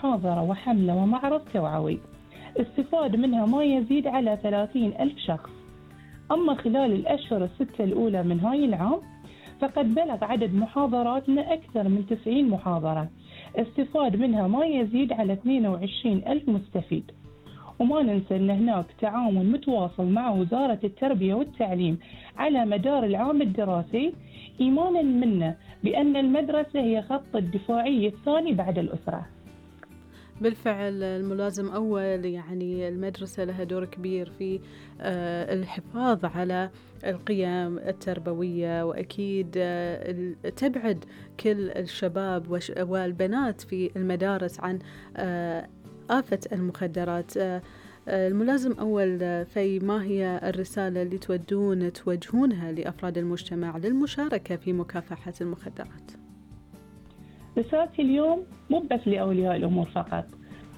محاضرة وحملة ومعرض توعوي استفاد منها ما يزيد على 30,000 شخص. أما خلال الأشهر الستة الأولى من هاي العام فقد بلغ عدد محاضراتنا أكثر من 90 محاضرة استفاد منها ما يزيد على 22,000 مستفيد. وما ننسى أن هناك تعاون متواصل مع وزارة التربية والتعليم على مدار العام الدراسي، إيمانا منا بأن المدرسة هي خط الدفاعي الثاني بعد الأسرة. بالفعل الملازم أول، يعني المدرسة لها دور كبير في الحفاظ على القيم التربوية، وأكيد تبعد كل الشباب والبنات في المدارس عن آفة المخدرات. الملازم أول في ما هي الرسالة اللي توجهونها لأفراد المجتمع للمشاركة في مكافحة المخدرات؟ رسالتي اليوم مو بس لأولياء الأمور فقط،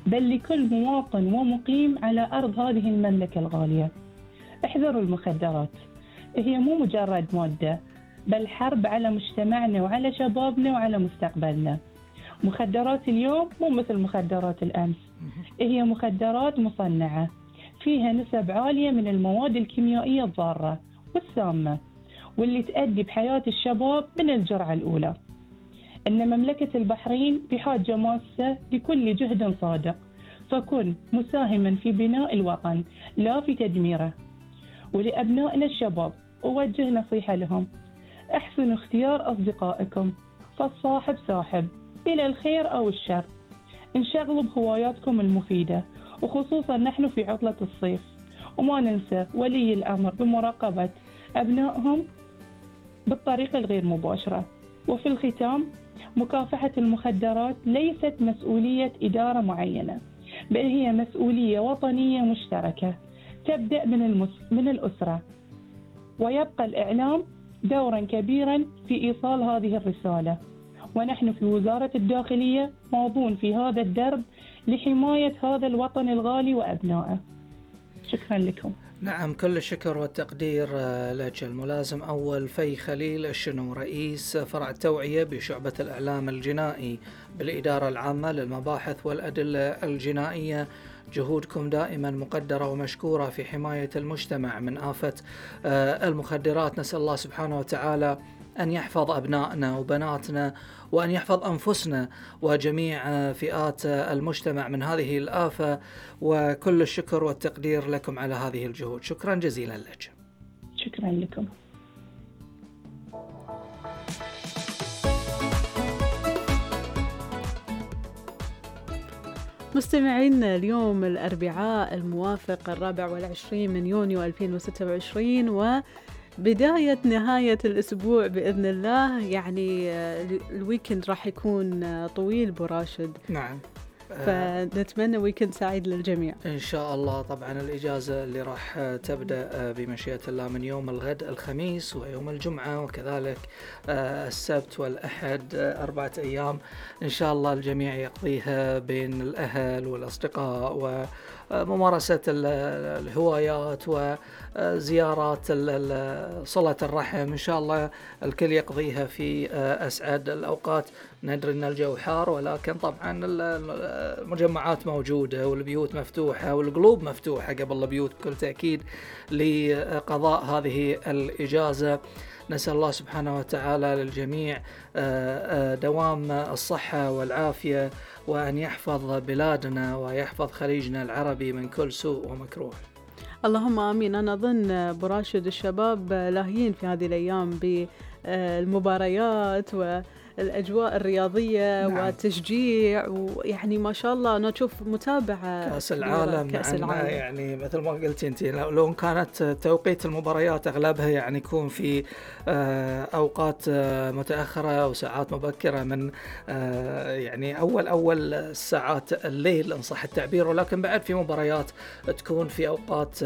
بل لكل مواطن ومقيم على أرض هذه المملكة الغالية. احذروا المخدرات، هي مو مجرد مادة، بل حرب على مجتمعنا وعلى شبابنا وعلى مستقبلنا. مخدرات اليوم مو مثل مخدرات الأمس، هي مخدرات مصنعة فيها نسب عالية من المواد الكيميائية الضارة والسامة، واللي تؤدي بحياة الشباب من الجرعة الأولى. إن مملكة البحرين بحاجة ماسة لكل جهد صادق، فكن مساهما في بناء الوطن لا في تدميره. ولأبنائنا الشباب أوجه نصيحة لهم: احسنوا اختيار أصدقائكم، فالصاحب ساحب إلى الخير أو الشر. انشغلوا بهواياتكم المفيدة، وخصوصا نحن في عطلة الصيف. وما ننسى ولي الأمر بمراقبة أبنائهم بالطريقة الغير مباشرة. وفي الختام، مكافحة المخدرات ليست مسؤولية إدارة معينة، بل هي مسؤولية وطنية مشتركة تبدأ من الأسرة. ويبقى الإعلام دورا كبيرا في إيصال هذه الرسالة، ونحن في وزارة الداخلية ماضون في هذا الدرب لحماية هذا الوطن الغالي وأبنائه. شكرا لكم. نعم، كل الشكر والتقدير لك الملازم أول في خليل الشنو، رئيس فرع التوعية بشعبة الإعلام الجنائي بالإدارة العامة للمباحث والأدلة الجنائية. جهودكم دائما مقدرة ومشكورة في حماية المجتمع من آفة المخدرات. نسأل الله سبحانه وتعالى أن يحفظ أبنائنا وبناتنا، وأن يحفظ أنفسنا وجميع فئات المجتمع من هذه الآفة. وكل الشكر والتقدير لكم على هذه الجهود. شكرا جزيلا لك. شكرا لكم. مستمعين، اليوم الأربعاء الموافق 24 من يونيو 2026 وبداية نهاية الأسبوع بإذن الله. يعني الويكند راح يكون طويل براشد. نعم، فنتمنى ويكند سعيد للجميع إن شاء الله. طبعا الإجازة اللي راح تبدأ بمشيئة الله من يوم الغد الخميس ويوم الجمعة، وكذلك السبت والأحد، 4 أيام إن شاء الله الجميع يقضيها بين الأهل والأصدقاء وممارسة الهوايات وزيارات صلة الرحم. إن شاء الله الكل يقضيها في أسعد الأوقات. ندري أن الجو حار، ولكن طبعا المجمعات موجودة والبيوت مفتوحة والقلوب مفتوحة قبل البيوت بكل تأكيد لقضاء هذه الإجازة. نسأل الله سبحانه وتعالى للجميع دوام الصحة والعافية، وأن يحفظ بلادنا ويحفظ خليجنا العربي من كل سوء ومكروه. اللهم آمين. أنا أظن براشد الشباب لاهيين في هذه الأيام بالمباريات والأجواء الرياضية. نعم. والتشجيع، ويعني ما شاء الله أنا أشوف متابعة كأس العالم. يعني مثل ما قلت أنت، لو كانت توقيت المباريات أغلبها يعني يكون في أوقات متأخرة وساعات مبكرة من يعني أول ساعات الليل إن صح التعبير، ولكن بعد في مباريات تكون في أوقات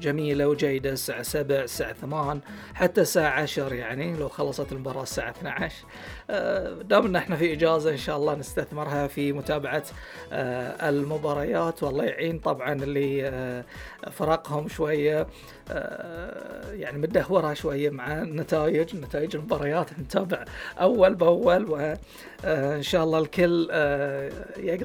جميلة وجيدة، الساعة 7 الساعة 8 حتى الساعة 10. يعني لو خلصت المباراة الساعة 12 دام ان احنا في اجازة ان شاء الله نستثمرها في متابعة المباريات. والله يعين طبعا اللي فرقهم شوية يعني متدهورة شوية مع نتائج المباريات، نتابع اول باول، وان شاء الله الكل يقدر